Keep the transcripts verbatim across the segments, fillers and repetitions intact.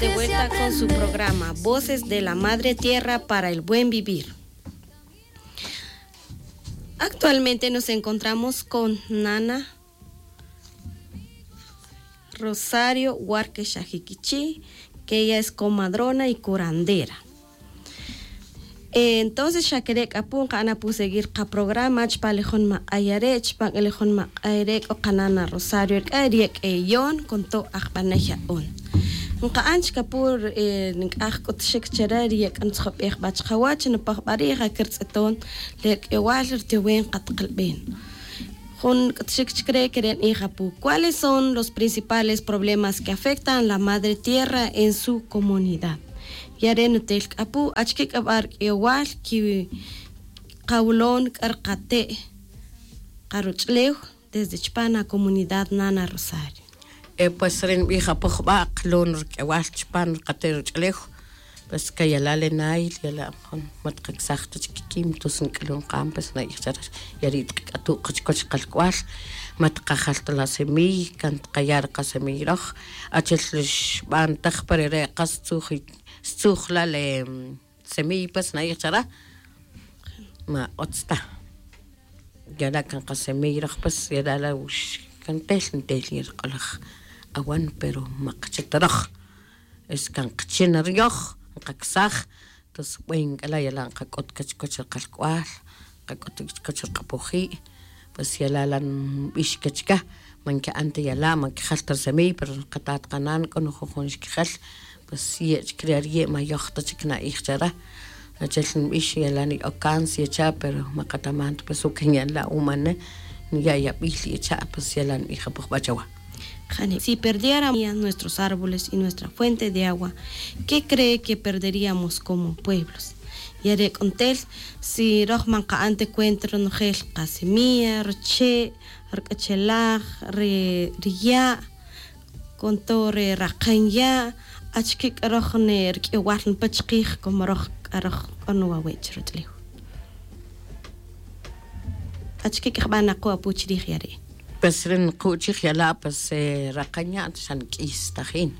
De vuelta con su programa Voces de la Madre Tierra para el Buen Vivir. Actualmente nos encontramos con Nana Rosario Huarque Shajiquichi, que ella es comadrona y curandera. Entonces xa kere' k'a pu nqa'an apu seguir qaprograma chupan le jun maq'ay are'. Chupan le jun maq'ay re' k'o qanana Rosario rk'a' ryek'eyon con to' ajb'anay ya'on. Nqa'an chik apu nk'aj k'utxik chare' ryek'a ntzjob'ej b'a chqawach npaj b'a rij akirtz'eton le rk'ewal rtiowen qatqlb'en. Jun k'utxik chik re' kere' nb'ij apu, ¿cuáles son los principales problemas que afectan la madre tierra en su comunidad? Ya re' nutel k'a pu achike k'a b'a rk'ewal kiqawlon k'a rqate' qaruch'lew desde chupan akomunidad Nana Rosario. Pues re' nb'ij apu jub'a' qlon rk'ewal chupan rqate' ruch'lew. Pues kayala' le nayl yala' jun ma tqaksaj ta chik kikim tus nk'lun qam pues na'ij chare, ya ri' tqak'atu' qa chukoch qalk'wal. Ma tqajal ta la semiy kan tqaya' ri qasemiy roj. Achel xb'antaj pa rere' qas stzuj la le semiy pues na'ij chare, ma utz ta. Yala' kan qasemiy roj pues yala' la wux kan tel ntel yin rq'olaj awan pero ma qacha ta roj. Es kan qachin riyoj nqaksaj. Tus b'en k'a la' yala' nqak'ut qa chukoch ri qalk'wal, nqak'ut qa chukoch ri q'apoji'. Pues yala' la' nb'ix kach ka, ma nki'an ta yala' ma kijal ta ri semiy pero qatat qanan k'o nujujun xkijal. Pues ye' chik ri' ariye' ma yoj ta chik na'ij chare. Achel nb'ix yala' ni ocanse yecha' pero ma qataman ta pues ukan yala' umane. Niya' yab'il yecha' pues yala' nb'ij apu jub'a' chawa. Si perdiéramos nuestros árboles y nuestra fuente de agua, ¿qué cree que perderíamos como pueblos? Ya re' k'o ntel si roj ma nqa'an ta cuenta ronojel qasemilla, ruche', ruk'achalaj, ri ya', con todo re raqan ya', achike k'a roj ne rk'ewal npa chikij como roj k'a roj k'o nuwawe' chi ruch'lew. Achike k'a jb'a' naqu' apu chirij ya re'? Pues re' naqu' chij yala' pues raqan ya' xa nk'is tajin.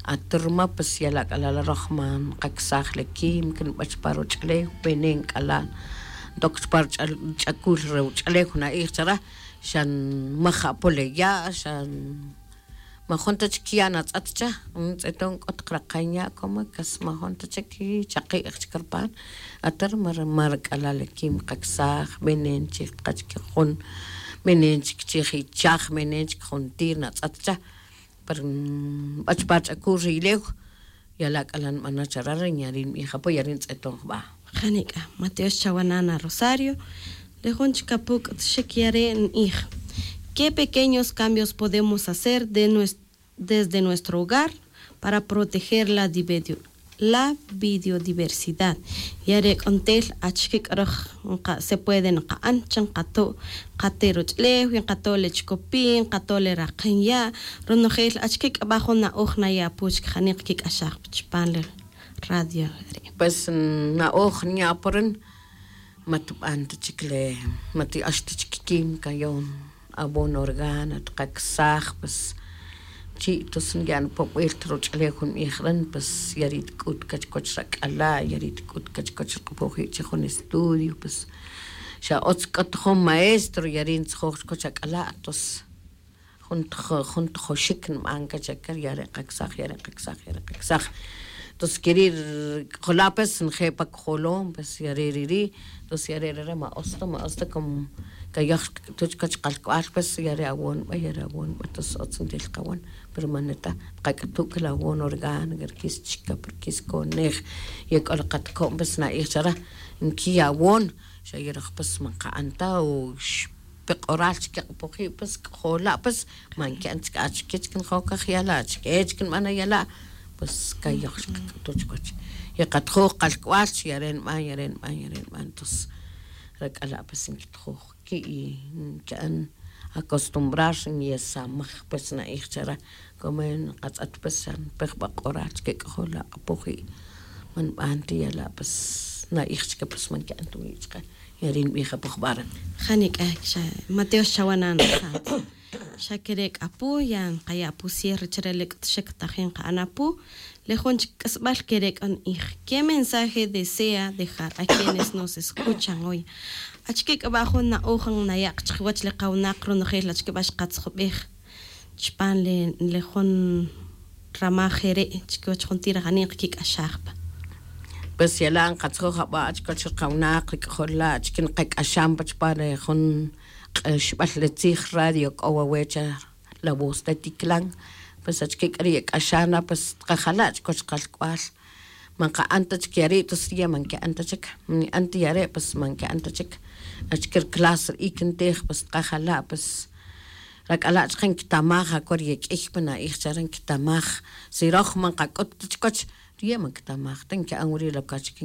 Aturma pues yala' k'a la' la' roj ma nqaksaj le químico nb'ach pa ruch'lew, veneno k'a la' ntok chupa ruch'akul ruch'lew na'ij chare. Xa nmaj apu le ya' xa majun ta chik ya' natz'et cha. Ntz'eton k'o taq raqan ya' como kas majun ta chik chaqi'j chik rpan. Atar mar k'ala' le kim qaksaj, b'enen chik qa chik jun, b'enen chik chij ichaj, b'enen chik juntir natz'et cha. Pero nb'ach pa ch'akul ri ilew. Yala' k'ala' nb'ana' chare ri nya ri' nb'ij apo ya ri' ntz'eton jb'a'. Jani' k'a ma tyox chawa' nana Rosario. Re jun chik apu k'utxik ya re' nb'ij: ¿Qué pequeños cambios podemos hacer de nues-, desde nuestro hogar para proteger la divedio-, la biodiversidad? Ya re' k'o ntel achike k'a roj nqa-, se puede nqa'an chi nqato' qate' ruch'lew, nqato' le chikopi', nqato' le raqen ya'. Ronojel achike k'a b'a jun na'oj naya' apu chik jani' qakik'axaj pa chupan le radio re'? Pues na'oj nya' apu rin, ma tb'an ta chik le, ma ti'ax ta chik kim kayon abono orgánico tqaksaj, pues chi' tus nya'n pob'il ta ruch'lew jun b'ij rin, pues ya ri' tk'ut kachiwach rak'ala', ya ri' tk'ut kachiwach rq'apoji' chi jun estudio, pues xa utz k'o ta jun maestro ya ri' ntzjoj chiwach ak'ala', tus jun tjo-, jun tjoxik nb'an kach aka, ya re' qaksaj, ya re' qaksaj, ya re' qaksaj. Tus keri' rk'ola' pues nje' pa kojolom, pues ya re' ri' ri', tus ya re' re' re' ma utz ta, ma utz ta, como kayoj xqak'utu' chiwach qalk'wal, pues ya re' awon b'a, ya re' awon b'a, tus utz ntel qawon. Pero ma neta, qak'utu' k'al awon orgánico, rkis chikap, rkis konej, ye k'o la qatko'n, pues na'ij chare, nkiya' awon, xa ye roj pues ma nqa'an ta, o x- pe q'oral chik q'apoji', pues k'ojola', pues ma nki'an chik, achike chik njow kaj yala', achike chik nb'ana' yala', pues kayoj chik qak'utu' chiwach. Ye qatjoj qalk'wal chi ya re' nb'an, ya re' nb'an, ya re' nb'an, tus rak'ala' pues nkitjoj ki' y nki'an acostumbrar, nyesamaj, pues na'ij chare, como nqatz'et pues xa npe jb'a' q'oral chik k'ojola' q'apoji', ma nb'an ta yala', pues na'ij chik pues ma nki'an ta wii' chike. Yari' nbij apu jb'a' re'. Ja nic'a xa mateo xchawa' na nrajat. Xa quere' c'a apu ya nqaya' apu cierre chire le c'ut xec tajin nqa'an apu. Le jun chic c'asbal quere' c'a nbij, qué mensaje desea dejar a quienes nos escuchan hoy? Achque c'a ba jun na'oj naya' chikiwach le kawnak ronojel achque ba xkatzjubej chupan le jun ramaj ere' chikiwech jun tira jani' nqakik'axaj pa. Pues yala' nqatzjoj aba' chikiwech ri qawinaq ri k'ajol la' chikin nqak'axan pa chupan re jun q'axb'al re tzij radio k'o wawe' cha la voz de tiklan. Pues achike k'a ri yek'axan la pues tqajala' chikiwech qalk'wal. Man nqa'an ta chik yari' tos ri ye' man nki'an ta chik, nki'an ta yare' pues man nki'an ta chik. Achike ri clase ri ik' ntij pues tqajala' pues. Rak'ala' chike nkitamaj aco ri ye k'iy pa na'ij chare nkitamaj. Si roj man nqak'ut ta chikiwech ri ye' man kitamaj ta nki'an wiri' lo que achike